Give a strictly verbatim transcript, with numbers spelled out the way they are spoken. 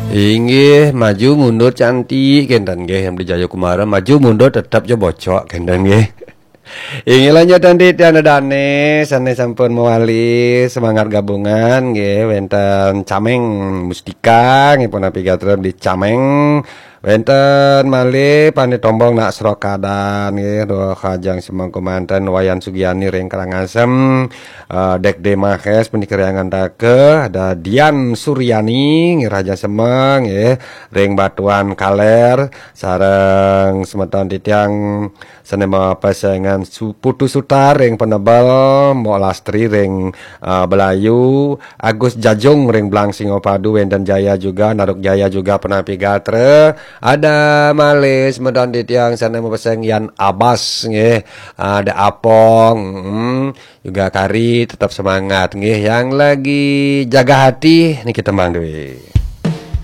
Inggih, maju mundur cantik kenten nggih, yang di Jayakumara maju mundur tetap jo bocok kenten nggih. Inggih, lanjut nanti tiang dane sane sampun mewali semangat gabungan nggih, wenten Cameng Mustika nggih, punapi gatra di Cameng. Wenten malih Pane Tombong nak Srokadan nggih, doh Hajang Semeng Kumanten, Wayan Sugiani ring Karangasem, eh, Dek De Mahes punika ring Antaka, ada Dian Suryani nggih, Raja Semeng nggih, ring Batuan Kaler, sareng semeton titiang sane mapesengan su-, Putu Sutar ring Penebel, Mbok Lastri ring, eh, Belayu, Agus Jajung ring Blang Singopadu, wenten Jaya juga, Naruk Jaya juga punapi gatra. Ada malih semeton titiang sane mapeseng Yan Abas nggih, ada Apong, mm, juga Kari, tetap semangat nggih. Yang lagi jaga hati niki tembang duwe.